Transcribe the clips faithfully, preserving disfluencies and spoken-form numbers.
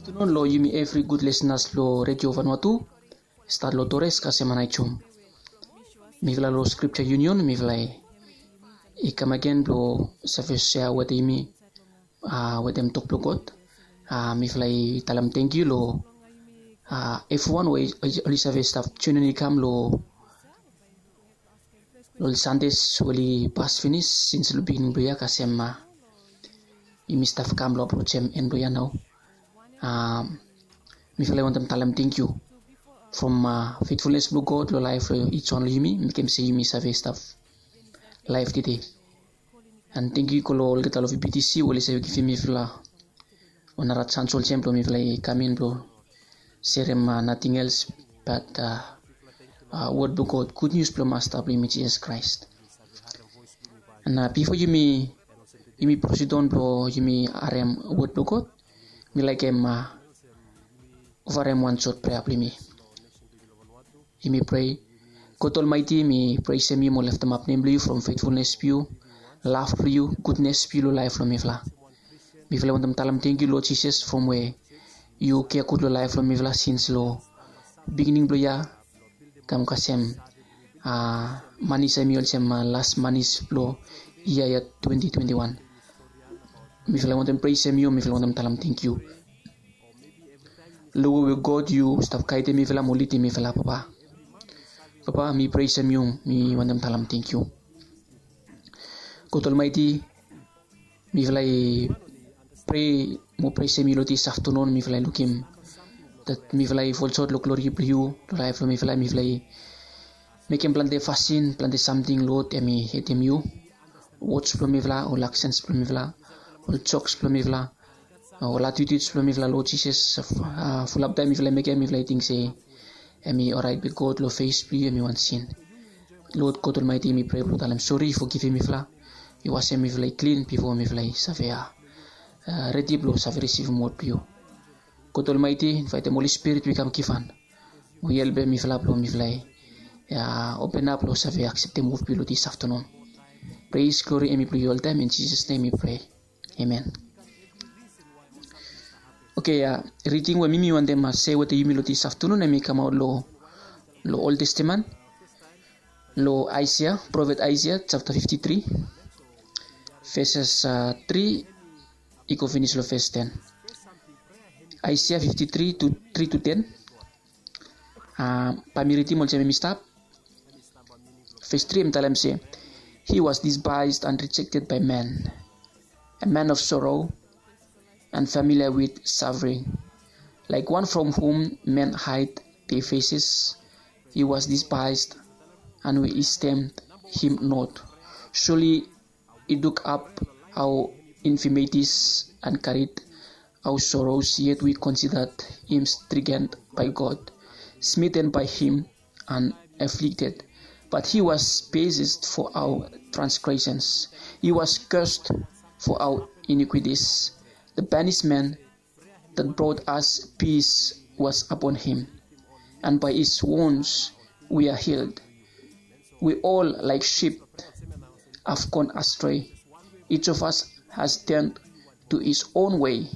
Aftanun long yumi evri gud lisenas blong Redio Vanuatu, stat long Torres kasem Anae Jum. Mifala long Scripture Union, mifala i kam agen blong save sea wetem yumi, a, wetem tok blong God. A, mifala i talem tangkiu long, a, evriwan we oli save stap joinim i kam long long ol Sandes we oli pas finis sins long biginin blong yia kasem, a, yumi stap kam long aprojem en blong yia nao. A, mifala i wantem talem tangkiu from, a, fetfulnes blong God long laef blong ij wan long yumi, mekem se yumi save stap laef tede. An tangkiu i go long olgeta long V B T C we oli save givim mifala wan nara jans olsem blong mifala i kam in blong serem, a, nating els bat, a, a, wod blong God, gud nius blong Masta blong yumi Jisas Kraes. An, a, bifo yumi, yumi prosid on blong yumi harem wod blong God, mi laekem, a, ofarem wan sot prea blong yumi. Yumi prea. God Olmaeti, mi presem yu mo leftemap nem blong yu from fetfulnes blong yu, lav blong yu, gudnes blong yu long laef blong mifala. Mifala i wantem talem tangkiu long Jisas from we yu kea gud long laef blong mifala sins long biginin blong yia kam kasem, a, manis, hemi olsem, a, las manis blong yia ya twenti twenti wan. Mifala i wantem presem yu, mifala i wantem talem tangkiu. Long we we God yu stap gaedem mifala mo lidim mifala, Papa. Papa, mi presem yu, mi wantem talem tangkiu. God Olmaeti, mifala i prea mo presem yu long dis aftanun, mifala i lukim dat mifala i folsot long glori blong yu long laef blong mifala, mifala i mekem plante fasin, plante samting, Lod, hemi hetem yu. Wods blong mifala, ol aksens blong mifala, ol joks blong mifala, ol atitudis blong mifala, Lod Jisas, a, fulap taem mifala i mekem, mifala i ting se hemi oraet, be God, long fes blong yu hemi wan sin. Lod God Olmaeti, mi prea blong talem sori, fogivim mifala. Yu wasem mifala i klin bifo mifala i save, a, a, redi blong save risivim wod blong yu. God Olmaeti, invaetem Holi Spirit we i kam givhan mo i helpem mifala blong mifala i, a, openap long save akseptem wod blong yu long dis aftanun. Pres, glori hemi blong yu oltaem, in Jisas nem mi prea. Amen. Oke, a, riding we mi mi wantem, a, sea wetem yumi long dis aftanun hemi kamaot long, long Ol Testamen, long Aesea, profet Aesea japta fifti tri, veses, a, tri i go finis long ves ten. Aesea fifti tri, tri tu ten. A, bae mi ridim olsem hemi stap. Ves tri hemi talem se, "He was despised and rejected by men, a man of sorrow and familiar with suffering. Like one from whom men hide their faces, he was despised, and we esteemed him not. Surely he took up our infirmities and carried our sorrows, yet we considered him stricken by God, smitten by him, and afflicted. But he was pierced for our transgressions, he was crushed for our iniquities. The punishment that brought us peace was upon him, and by his wounds we are healed. We all, like sheep, have gone astray. Each of us has turned to his own way,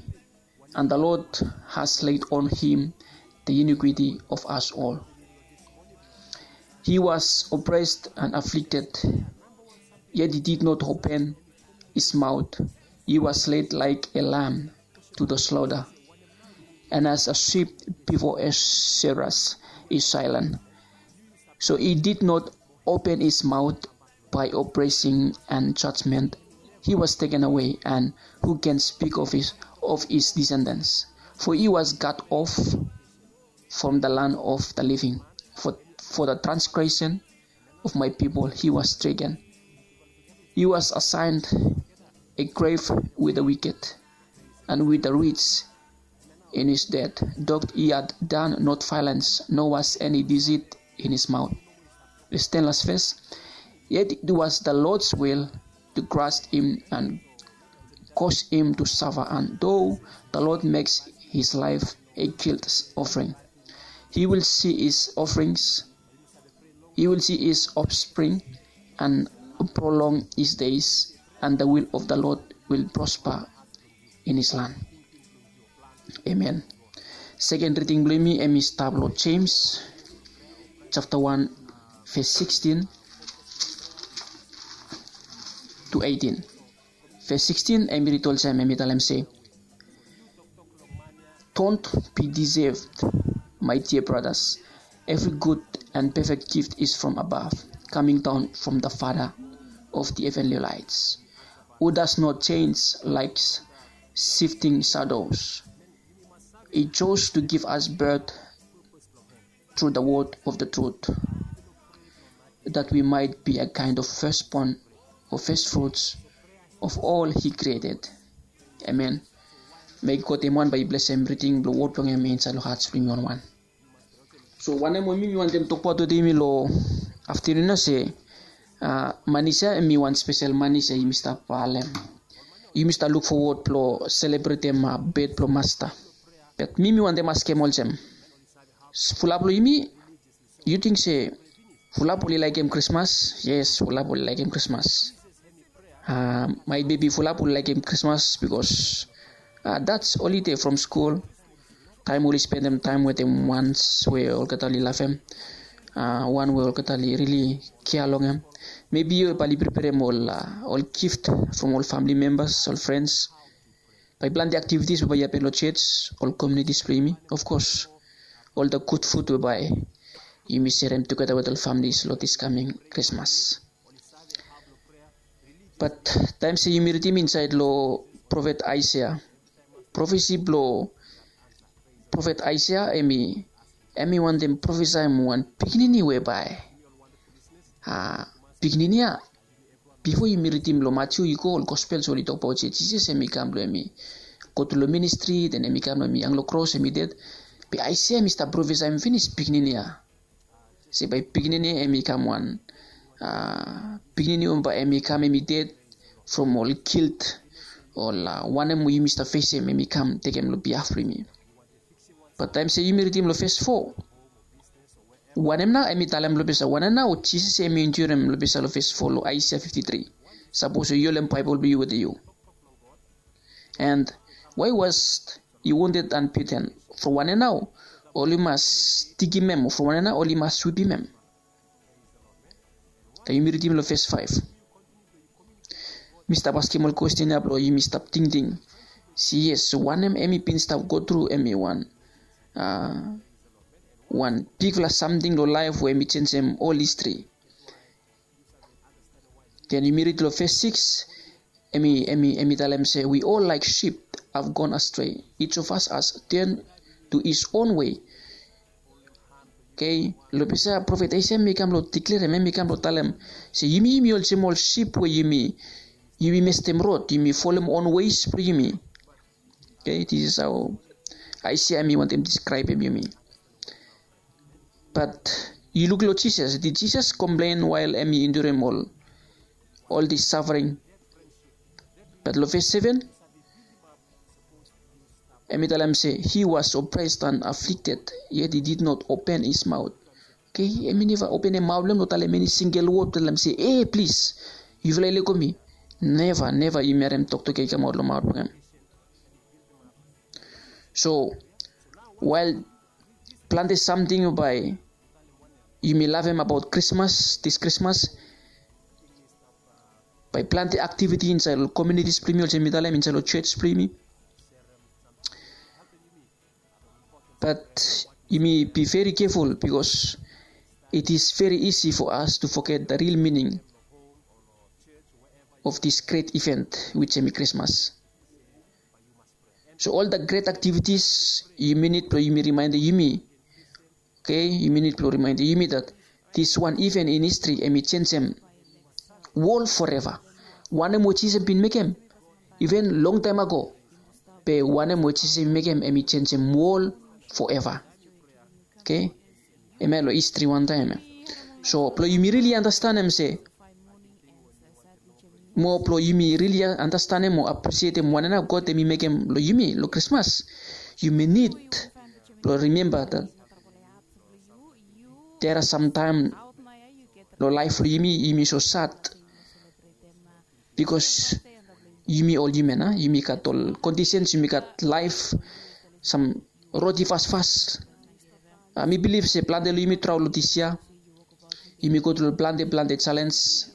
and the Lord has laid on him the iniquity of us all." He was oppressed and afflicted, yet he did not open his mouth. He was led like a lamb to the slaughter, and as a sheep before a shearers is silent, so he did not open his mouth. By oppressing and judgment he was taken away, and who can speak of his, of his descendants? For he was cut off from the land of the living. For, for the transgression of my people he was stricken. He was assigned a grave with the wicked and with the rich in his death. Though he had done not violence, nor was any deceit in his mouth. Ves ten, last ves. Yet it was the Lord's will to crush him and cause him to suffer, and though the Lord makes his life a guilt offering, he will see his offerings, he will see his offspring and prolong his days, and the will of the Lord will prosper in his land. Amen. Seken riding blong yumi hemi stap long James japta wan, ves sikistin to eighteen. Ves sikistin hemi rid olsem, hemi talem se, "Don't be deceived, my dear brothers. Every good and perfect gift is from above, coming down from the Father of the heavenly lights, who does not change like shifting shadows. He chose to give us birth through the word of the truth, that we might be a kind of firstborn or first fruits of all he created." Amen. May God hemwan bae i blesem riding blong wod blong hem insaed long hats blong yumi wan wan. So wanem we mi mi wantem tokbaot wetem yumi long aftenun ya se, ah, Manis ya hemi wan spesel Manis ya yumi stap, ah, halem. Yumi stap luk fowod blong selebretem, ah, bet blong Masta. Be mi mi wantem askem olsem, fulap long yumi, yu ting se fulap oli laekem Krismas? Yes, fulap oli laekem Krismas. Ah, maet be fulap oli laekem Krismas bikos, ah, that's holiday from skul. Taem oli spendem taem wetem wans we olgeta oli lavem, ah, wan we olgeta oli rili kea long hem. Mebi yu bae oli preperem ol, ah, ol gift from ol famili membas, ol frens. Bae planti aktivitis bae i hapen long jos, ol komiunitis blong yumi, of course, ol the good food we bae yumi serem tugeta wetem ol familis long this coming Krismas. Bat taem se yumi ridim insaed long profet Aesea, profesi blong profet Aesea hemi, hemi wantem profesaem wan pikinini we bae, ah, pikinini ya, bifo yumi ridim long Matiu i go, ol gospels oli tokbaot se Jisas hemi kam blong hemi go tru long ministri, then hemi kam blong hemi hang long kros, hemi ded. Be Aesea hemi stap profesaem finis pikinini ya se bae pikinini hemi kam wan, ah, pikinini we bae hemi kam hemi ded from ol gilt, ol, ah, wanem we yumi stap fesem, hemi kam tekem long bihaf blong yumi. Bat taem se yumi ridim long ves fo, wanem nao hemi talem long ves ya? Wanem nao Jisas hemi endurem long ves ya, long ves fo long Aesea fifti tri? Sapos yu holem Baebol blong yu wetem yu. And why was he wounded and beaten? From wanem nao oli mas stigim hem? From wanem nao oli mas wipim hem? Taem yumi ridim long ves faef, mi stap askem ol kwesten ya blong yumi stap tingting se, yes, wanem hemi bin stap go tru, hemi wan, ah, wan bigfala samting long laef we hemi jenisim ol histri. Then yumi rid long ves sikis, hemi, hemi, hemi talem se, "We all like sheep have gone astray. Each of us has turned to his own way." Okei, long ves ya profet Aesea hemi kam blong diklerem, hemi kam blong talem se yumi, yumi olsem ol sip we yumi, yumi mestem rod, yumi folem on ways blong yumi. Okei, this is how Aesea hemi wantem deskraebem yumi. Bat yu luk long Jisas, did Jesus complain while hemi endurem ol, ol this suffering? Bat long ves seven, hemi talem se, "He was oppressed and afflicted, yet he did not open his mouth." Okei, hemi neva openem maot blong hem blong talem eni singel wod blong talem se, "E, plis, yufala i lego mi." Neva, neva yumi harem toktok ya i kamaot long maot blong hem. So wael plante samting bae yumi lavem abaot Krismas, this Krismas, bae plante aktiviti insaed long komiunitis blong yumi, olsem mi talem, insaed long jos blong yumi. Bat yumi be very careful, because it is very easy for us to forget the real meaning of this great event, which hemi Krismas. So ol the great activities yumi nid blong yumi rimaendem yumi, okei, yumi nid blong rimaendem yumi that this one event in history hemi jenisim wol forever. Wanem we Jisas bin mekem, iven longtaem ago, be wanem we Jisas bin mekem hemi jenisim wol forever. Okei, hemia long histri wantaem ya. So blong yumi rili andastanem se, moa blong yumi rili andastanem o aprisietem wanem nao God hemi mekem long yumi long Krismas, yumi nid blong rimemba that there are some taem long laef blong yumi, yumi so sad, bikos yumi ol hiuman, a, yumi gat ol kondisens, yumi gat laef, sam roti fasfas. A, mi bilif se plante long yumi traol long dis yia. Yumi go tru long plante plante jalens.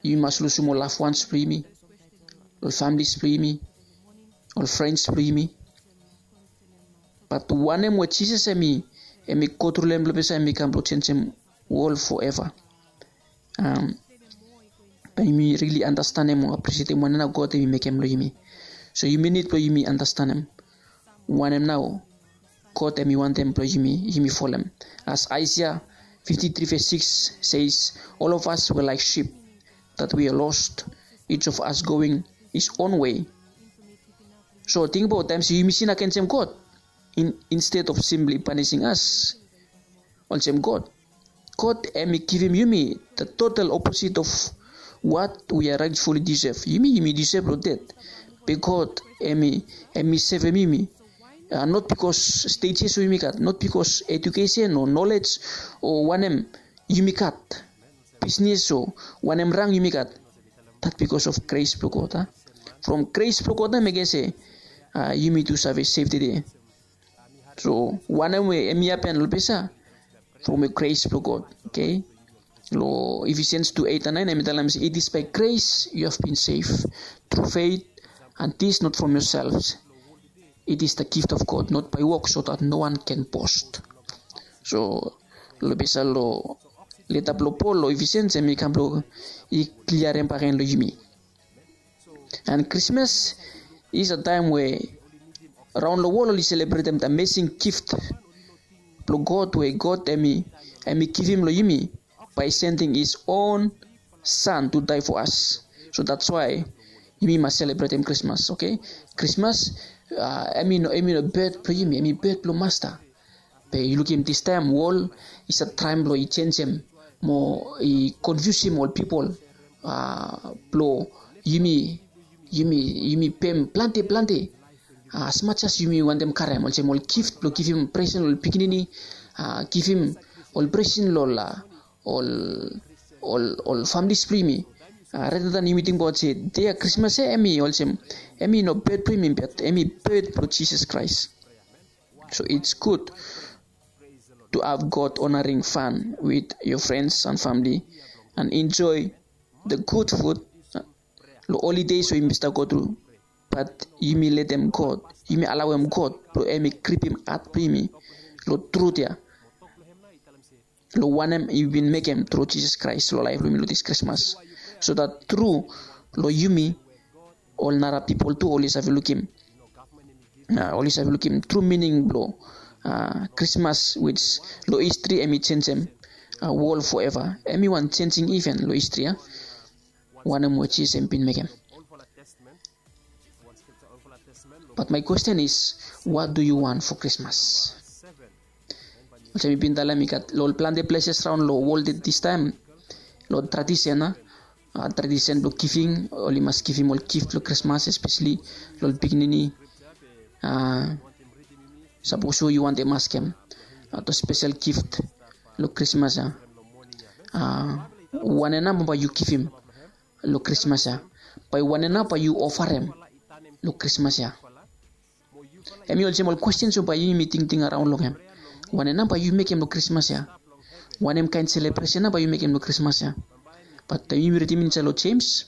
Yumi mas lusum ol lafwans blong yumi, ol familis blong yumi, ol frens blong yumi. Bat wanem we Jisas em i em i go tru long em long ples ya, em i kam blong jenisim wol foeva. Am, bae yumi rili andastanem o aprisietem wanem nao God em i mekem long yumi. So yumi nid blong yumi andastanem wanem nao God em i wantem blong yumi yumi folem. As Isaiah fifty-three verse six says, "All of us were like sheep that we are lost, each of us going his own way." So tingbaot taem se yumi sin agensem God, in, instead of simply punishing us, olsem God, God em i givim yumi the total opposite of what we are rightfully deserve. Yumi yumi deserve long dead. Be God em i em i sevem yumi. Uh, not because status we yumi gat, not because education o knowledge o wanem yumi gat, business o wanem rang yumi gat. That because of grace blong God, a? From grace blong God na mekem se, uh, yumi tu save save tede. So wanem we em i hapen long ples ya, from we grace blong God. Okay. Long Ephesians two eight and nine em i talem se, "It is by grace you have been saved through faith, and this not from yourselves. It is the gift of God, not by works, so that no one can boast." So long ples ya long leta blong Pol long Ephesians em i kam blong i kliarem bakegen long yumi. And Christmas is a time we raon long wol oli selebretem the amazing gift blong God we God em i em i givim long yumi by sending his own son to die for us. So that's why yumi mas selebretem Christmas, okay? Christmas, uh, em i no em i no birth blong yumi, em i birth blong Masta. Be yu lukim distaem wol i save traem blong i jenisim mo i konfiusim ol pipol, uh, blong yumi yumi yumi pem plante plante, uh, as much as yumi wantem karem, olsem ol gift blong givim presen long ol pikinini, uh, givim ol presen long ol, uh, ol ol ol familis blong yumi. Uh, rather than yumi tingbaot se dei ya Krismas ya em i olsem em i no birth blong yumi, bat em i birth blong Jisas Kraes. So it's good to have God honoring fun with your friends and family and enjoy the good food. Long holidays we yumi stap go tru, bat yumi letem God, yumi alawem God blong em i gripim hat blong yumi long trut ya, long wanem i bin mekem tru Jisas Kraes long laef blong yumi long dis Krismas, so that tru long yumi ol nara pipol tu oli save lukim, uh, oli save lukim tru mining blong, uh, Krismas, which long histri em i jenisim, uh, wol foeva. Em i wan jenisim iven long histri ya, wanem we Jisas em bin mekem. But my question is, what do you want for Christmas? Olsem mi bin talem, i gat long ol plante places raon long wol distaem long tradisen ya, uh, tradisen blong givim, oli mas givim ol gift long Krismas, espeseli long ol pikinini. Uh, sapos yu wantem askem, uh, the special gift long Krismas ya, uh, wanem nao bae yu givim long Krismas ya? Bae wanem nao bae yu ofarem long Krismas ya? Em i olsem ol kwestens we bae yumi tingting araon long hem. Wanem nao bae yu mekem long Krismas ya? Wanem kaen selebresen nao bae yu mekem long Krismas ya? Bat taem yumi ridim insaed long Jems,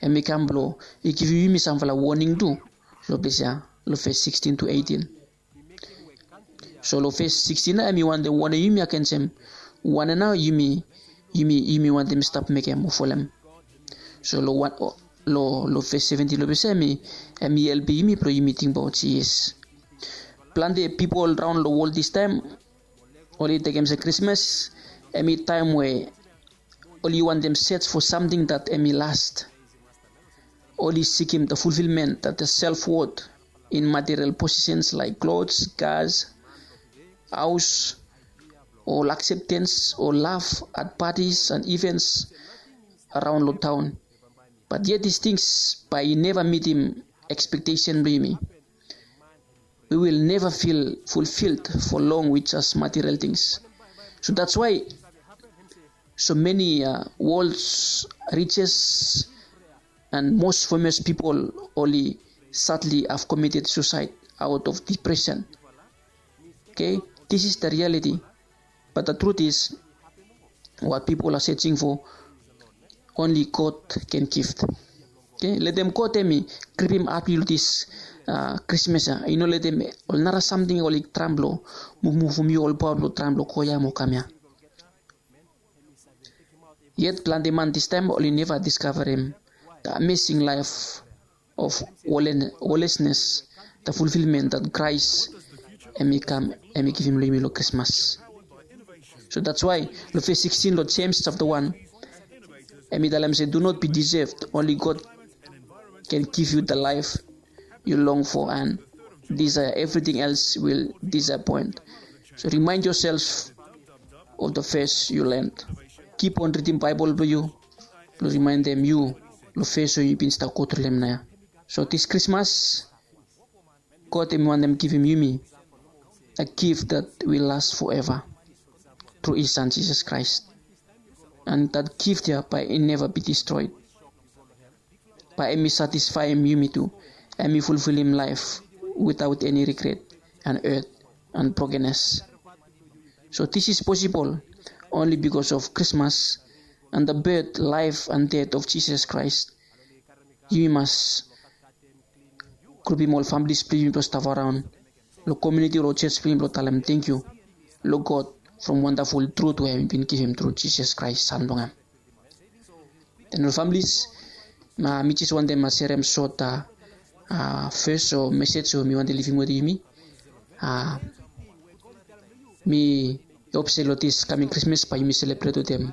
em i kam blong i givim yumi samfala woning tu long ples ya, long ves sixteen to eighteen. So long ves sixteen nao em i wantem wonem yumi agensem wanem nao yumi yumi yumi wantem stap mekem o folem. So long wan o, long long ves seventeen long ples ya em i em i helpem yumi blong yumi tingbaot, yes, plante pipol raon long wol distaem oli tekem se Krismas em i taem we oli wantem search for something that em i last. Oli sikim the fulfillment that the self-worth in material possessions like clothes, cars, house, ol acceptance, ol love at parties and events araon long taon. But yet these things bae i neva mitim expectation blong yumi. We will never feel fulfilled for long with just material things. So that's why so many, uh, world's richest and most famous people oli sadly have committed suicide out of depression. Okay, this is the reality. But the truth is, what people are searching for, only God can give. Okay, letem God hemi gripim hat blong yu long this uh, Christmas ya. I no letem ol nara samting oli traem blong muvmuvum yu, ol paoa blong traem blong go ya mo kam ya. Yet plante man this time oli neva diskavarem the amazing life of wholeness, the fulfillment that Christ hemi kam hemi givim long yumi long Christmas. So that's why long verse sixteen long James chapter one, hemi talem se, "Do not be deceived. Only God can give you the life you long for and desire. Everything else will disappoint." So remind yourself of the verse you learned. Keep on reading Bible blong yu blong rimaendem yu long verse we yu bin stap go through long hem nao ya. So this Christmas, God hemi wantem givim yumi a gift that will last forever through his son Jesus Christ. And that gift ya bae i neva be destroyed. Bae hemi satisfaem yumi tu, hemi fulfilim laef without any regret and hurt and brokenness. So this is possible only because of Christmas and the birth, life and death of Jesus Christ. Yumi mas grupim ol families blong yumi blong stap araon long komuniti o long jos blong yumi blong talem tangkiu long God from wandaful trut we hemi bin givim tru Jisas Kraes, San blong hem. Den ol families, mi jes wantem serem sot fes o mesej we mi wantem livim wetem yumi. Mi hop se long dis kaming Krismas bae yumi selebret wetem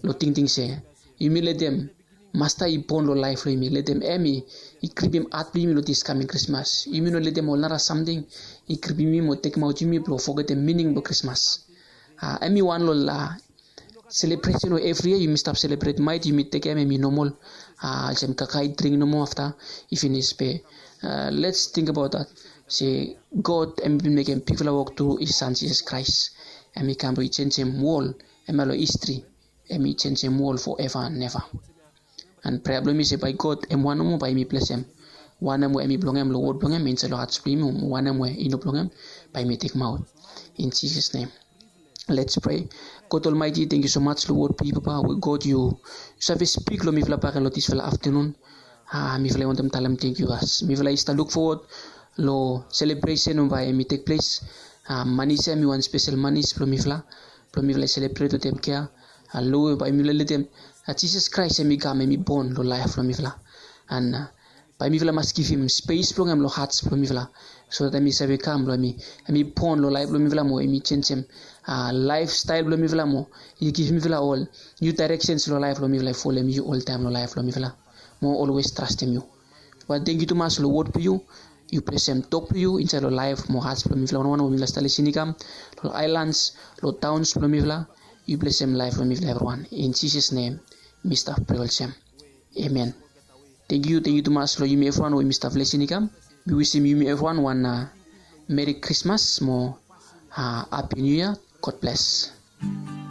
long tingting se yumi letem Masta i bon long laef blong yumi. Letem hem i gripim hat blong yumi long dis kaming Krismas. Yumi no letem ol nara samting i gripim yumi mo tekemaot yumi blong fogetem mining blong Krismas. Hem i wan long selebresen we evri yia yumi stap selebret. Maet yumi tekem hem i nomol, olsem kakae dring nomo afta i finis. Be lets tingbaot dat se God hem i bin mekem bigfala wok tru, i San Jisas Kraes. Hem i kam blong i jenjem wol, hem ya long histri. Hem i jenjem wol foeva and neva. And prea blong mi se bae God hem wan nomo bae yumi blesem wanem we hem i blong hem long wod blong hem insaed long hats blong yumi, mo wanem we i no blong hem bae yumi tekemaot. In Jisas nem. Let's pray. God Almighty, tangkiu so much long wod blong yu, Papa, we God yu save spik long mifala bakegen long disfala aftenun. Mifala i wantem talem tangkiu as mifala i stap luk fowod long selebresen we bae hem i tekples. Manis ya hem i wan spesel manis blong mifala, blong mifala i selebret wetem kea. Long we bae mifala letem Jisas Kraes hem i kam hem i bon long laef blong mifala. And bae mifala mas givim spes blong hem long hats blong mifala, so dat hem i save kam blong hem i bon long laef blong mifala mo hem i jenjem laefstael blong mifala mo i givim mifala ol niu daereksens long laef blong mifala i folem yu oltaem long laef blong mifala mo olwes trastem yu. Papa, tangkiu tumas long wod blong yu. Yu blesem tok blong yu insaed long laef mo hats blong mifala wanwan we mifala stap lisin i kam long aelans, long taons blong mifala. Yu blesem laef blong mifala evriwan. In Jisas nem mi stap prea olsem. Amen. Tangkiu, tangkiu tumas long yumi evriwan we yumi stap lisin i kam. Mi wisim yumi evriwan wan Meri Krismas mo Hapi Niu Yia. God bless.